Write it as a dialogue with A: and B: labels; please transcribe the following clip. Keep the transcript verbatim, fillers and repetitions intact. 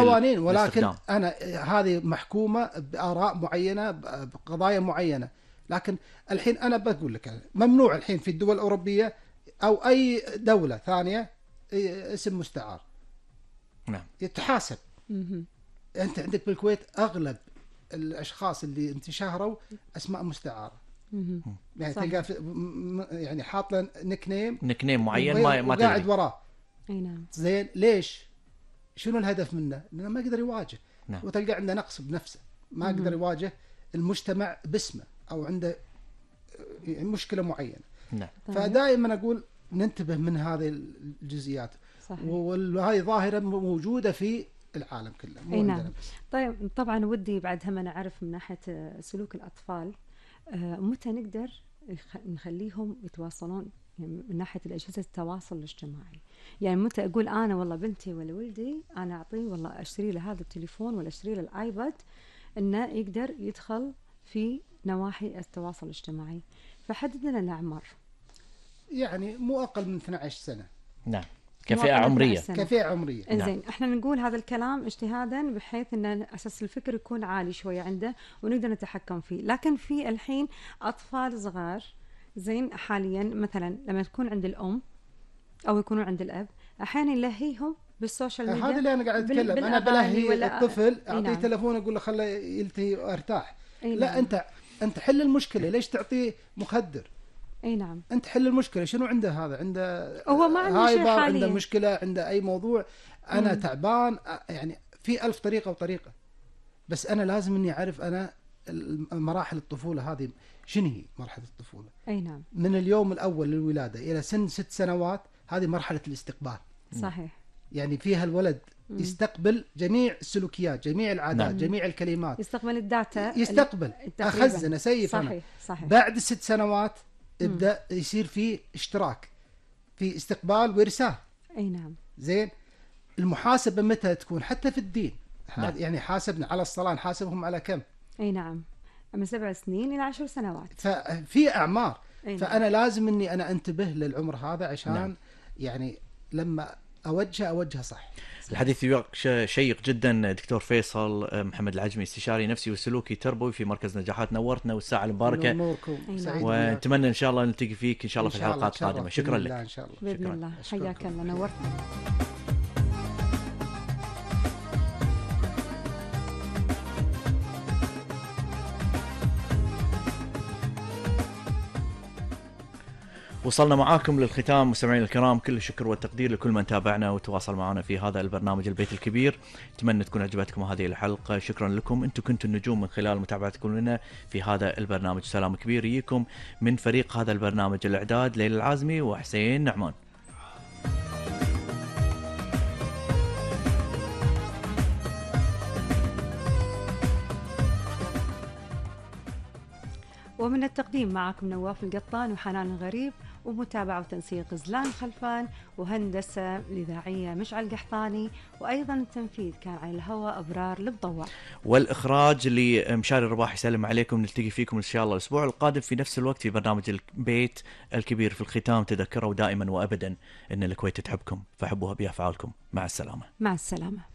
A: قوانين، ولكن أنا هذه محكومة بآراء معينة بقضايا معينة. لكن الحين أنا بقول لك ممنوع الحين في الدول الأوروبية أو أي دولة ثانية اسم مستعار.
B: نعم.
A: يتحاسب. أنت عندك بالكويت أغلب الأشخاص اللي انتشهروا أسماء مستعارة. يعني تلقى يعني حاط له نيك نيم
B: نيك نيم معين ما ما
A: قاعد وراه.
C: اي نعم.
A: زين ليش؟ شنو الهدف منه؟ لأنه ما يقدر يواجه.
B: نعم.
A: وتلقى عنده نقص بنفسه، ما يقدر يواجه المجتمع باسمه أو عنده مشكلة معينة.
B: نعم.
A: فدائما أقول ننتبه من هذه الجزئيات.
C: صحيح.
A: وهذه ظاهرة موجودة في العالم كله مو
C: نعم.
A: عندنا بس.
C: طيب طبعا ودي بعد هم أنا أعرف من ناحية سلوك الأطفال آه متى نقدر نخليهم يتواصلون يعني من ناحية الأجهزة التواصل الاجتماعي؟ يعني متى أقول أنا والله بنتي ولا ولدي أنا أعطيه والله أشتري له هذا التليفون ولا أشتري له الآيباد إنه يقدر يدخل في نواحي التواصل الاجتماعي؟ فحدد لنا الأعمار.
A: يعني مو أقل من اثنتي عشرة سنة.
B: نعم. كفئة عمرية.
A: كفئة عمرية.
C: إنزين إحنا نقول هذا الكلام اجتهادا بحيث إن أساس الفكر يكون عالي شوية عنده ونقدر نتحكم فيه. لكن في الحين أطفال صغار زين حاليا مثلا لما تكون عند الأم أو يكونوا عند الأب أحيانا يلهيهم بالسوشيال ميديا.
A: هذا اللي أنا قاعد أتكلم. أنا بلهي الطفل أعطيه نعم. تلفون أقول له خله يلتهي وارتاح. لا نعم. أنت أنت حل المشكلة. ليش تعطيه مخدر؟
C: اي نعم.
A: انت حل المشكله. شنو عنده هذا؟ عنده
C: هو ما عنده شيء حاليا،
A: عنده مشكله، عنده اي موضوع. انا مم. تعبان يعني في ألف طريقه وطريقه. بس انا لازم اني اعرف انا مراحل الطفوله هذه شنو هي. مرحله الطفوله
C: اي نعم
A: من اليوم الاول للولاده الى سن ست سنوات هذه مرحله الاستقبال.
C: صحيح.
A: يعني فيها الولد مم. يستقبل جميع السلوكيات، جميع العادات، مم. جميع الكلمات،
C: يستقبل الداتا،
A: يستقبل اخزن اسيف.
C: صحيح.
A: أنا.
C: صحيح.
A: بعد الست سنوات يبدأ يصير في اشتراك في استقبال وإرسال.
C: أي نعم.
A: زين. المحاسبة متى تكون؟ حتى في الدين.
B: نعم.
A: يعني حاسبنا على الصلاة نحاسبهم على كم؟
C: أي نعم. من سبع سنين إلى عشر سنوات.
A: ففي أعمار.
C: نعم.
A: فأنا لازم إني أنا أنتبه للعمر هذا عشان
B: نعم.
A: يعني لما أوجه أوجه صح.
B: الحديث شيق جدا. دكتور فيصل محمد العجمي، استشاري نفسي وسلوكي تربوي في مركز نجاحات، نورتنا والساعة المباركة، ونتمنى إن شاء الله نلتقي فيك إن شاء الله في الحلقات القادمة. شكرا لك.
A: إن شاء الله.
C: بإذن الله. حياك الله، نورتنا.
B: وصلنا معاكم للختام مستمعين الكرام. كل الشكر والتقدير لكل من تابعنا وتواصل معنا في هذا البرنامج البيت الكبير. اتمنى تكون عجبتكم هذه الحلقة. شكرا لكم، انتم كنتوا النجوم من خلال متابعتكم لنا في هذا البرنامج. سلام كبير يجيكم من فريق هذا البرنامج، الاعداد ليلى العازمي وحسين نعمان.
C: ومن التقديم معكم نواف القطان وحنان الغريب، ومتابعة وتنسيق زلان خلفان، وهندسة الإذاعية مشعل قحطاني، وأيضا التنفيذ كان على الهواء أبرار الضوء،
B: والإخراج لمشاري الرباح. يسلم عليكم، نلتقي فيكم إن شاء الله الأسبوع القادم في نفس الوقت في برنامج البيت الكبير. في الختام تذكروا دائما وأبدا أن الكويت تحبكم، فحبوها بأفعالكم. مع السلامة.
C: مع السلامة.